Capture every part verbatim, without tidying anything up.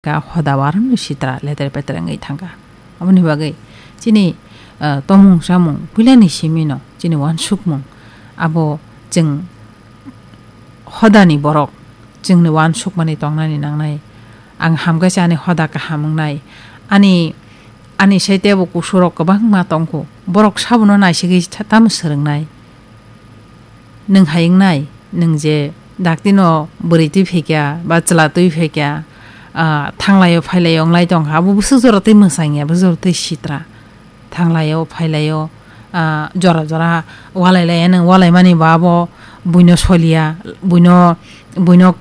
Ka hoda warwkni sitra leter peter wngwi thangkha. Aboni bagwi chini, ah, tomung chamung puilani simino chini uansukmung abo chwng hodani borok chwngni uansukmani tongnani nangnai. Ang hamkhe se ani hoda kaham wngnai. Ani, ani saite bo kusurok kwbangma tongkhu. Borok sabono naisigwi tha-, tamo swrwngnai. Nwng hai wngnai, nwng je daktino bwrwi twi phaikha, ba chwla twi phaikha, ah, thanglaio phailaio wnglai tongkha, abo bwswk jora twi mwsangya, bwswk jora twi sitra. Thanglaio phailaio, ah, jora jora walai laiya nwng, walaimani bo abo buino soliya, buino, buino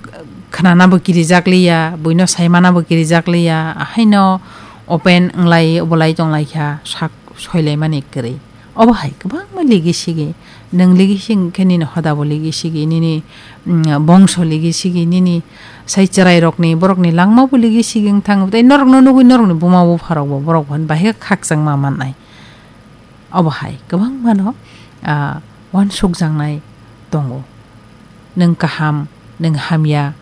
khwnanabo kirijak liya, buino saimanabo kirijak liya, ahaino open wnglai bolai tonglaikha, sak soilaimani kwrwi. Obo hai kwbangma ligi sigi. Nwng ligi sigi khe nini hoda bo ligi sigi, nini, mm, bongso ligi sigi, nini sai chwrairokni, borokni langma bo ligi sigi wng thango. Tei norokno nugwi norokni buma bupharok bo borok bo bahai khe khakchangma mannai. Obo hai kwbangmano, ah, uansukjaknai tongo. Nwng kaham, nwng hamya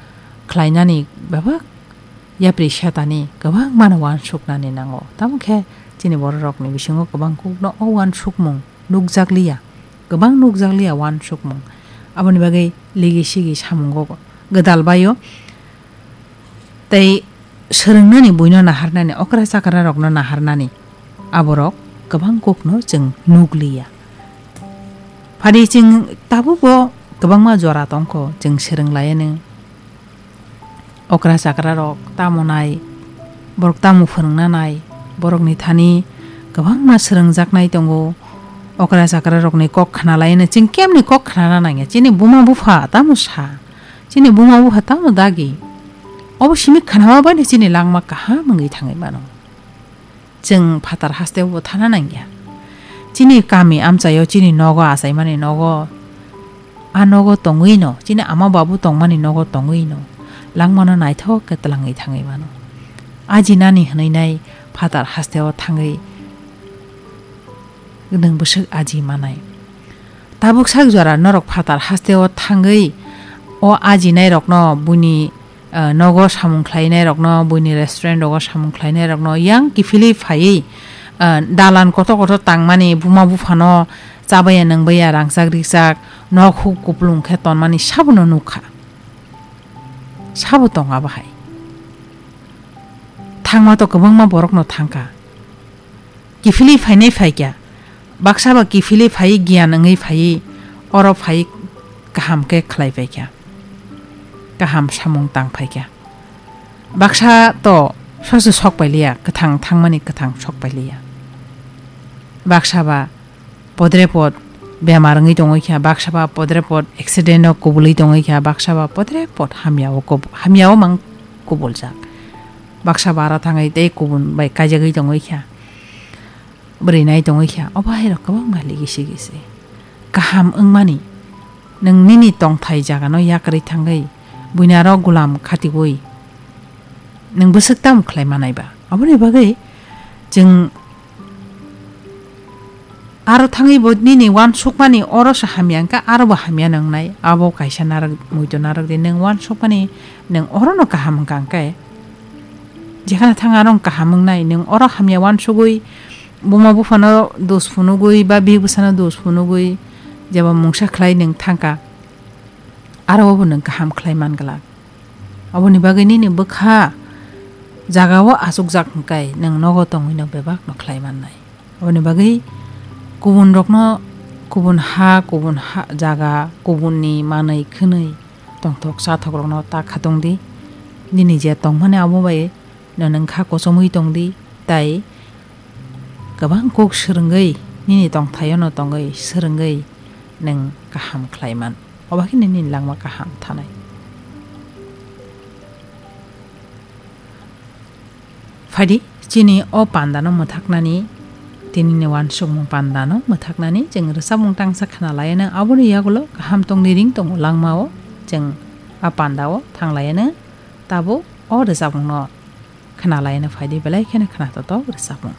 khlainani bebak yapri setani kwbangmano uansuknani nango. Tamo khe chini bororokni bisingo kwbang kukno o uansukmung nukjakliya, kwbang nukjakliya uansukmung. Aboni bagwi ligi sigi samungo gwdal baio. Tei swrwngnani buino naharnani, okra chakrarokno naharnani, aborok kwbang kokno chwng nukliya. Phadi chwng tabukbo kwbangma jora tongkho, chwng swrwng laianw. Okra chakrarok tamo nai, borok tamo phwrwngna nai, borokni thani kwbangma swrwngjaknai tongo. Okra chakrarokni kok khna laianw, chwng kemni kok khnana nangya, chini buma bupha tamo sa. Chini buma bupha tamo dagi. Obo simi khnawa bai no chini langma kaham wngwi thangwi mano. Chwng phatar haste bo thana nangya. Chini kami amchaio chini nogo achaimani nogo. A nogo tongwi no, chini ama babu tongmani nogo tongwi no. Langmano naithok khe twlangwi thangwi mano. Ajinani hwnwi nai phatar hasteo thangwi nwng bwswk aji manai. Tabuk sak jora norok phatar hasteo thangwi o ajinairokno buini, ah, nogo samung khlainairokno, buini restaurant rogo samung khlainairokno yang kiphilwi phaiwi, ah, dalan kotor kotor tangmani buma buphano chabaya nwngbaya rangchak rikchak nok huk kupulung khe tonmani sabono nukha. Sabo tong abo hai. Thangma to kwbangma borokno thangkha. Kiphilwi phainai phaikha. Baksa ba kiphilwi phaiwi giyan wngwi phaiwi oro phaiwi kaham khe khlai phaikha. Kaham samung tang phaikha. Baksa to soso sok pailiya, kwthang thangmani kwthang sok pailiya. Baksa ba podrepot bemar wngwi tongwi kha, baksa ba podrepot accident o kubulwi tongwi kha, baksa ba podrepot hamya o kub-, hamya o mang kubuljak. Baksa ba aro thangwi tei kubun bai kaijagwi tongwi kha. Bwrwi nai tongwi kha, obo hai rok kwbangma ligi sigi se. Kaham wngmani, nwng nini tongthai jagano yakarwi thangwi, buini aro gulam khatiwi, nwng bwswk tamo khlai manai ba? Aboni bagwi chwng aro thangwi bo nini uansukmani oro se hamya wngkha, aro bo hamya nwngnai. Abo kaisa narwk, muitu narwk di, nwng uansukmani nwng orono kaham wngkha hwnkhe. Jekhano thang aro wng kaham wngnai, nwng oro hamya uansugwi buma buphano dos phunugwi ba bihik bwsano dos phunugwi jeba mungsa khlai nwng thangkha, aro bo nwng kaham khlai man glak. Aboni bagwi nini bwkha jagao achukjak hwnkhe nwng nogo tongwino bebakno khlai mannai. Aboni bagwi kubun rokno kubun ha, kubun ha, jaga, kubunni manwi khwnwi tongthok chathok rokno ta khatungdi. Nini je tongmani abo bai no nwng kha kochomwi tongdi, tai kwbang kok swrwngwi nini tongthaio no tongwi swrwngwi nwng kaham khlai man. Obo khe nini langma kaham thanai. Phaidi, chini o pandano mwthaknani, tini ni uansukmung pandano mwthaknani chwng rwchapmung tangsa khna laianw, aboni yagulo kaham tongni ring tongo langmao chwng a pandao thang laianw, tabuk o rwchapmungno khna laianw phaidi belai kheno khna totok rwchapmung.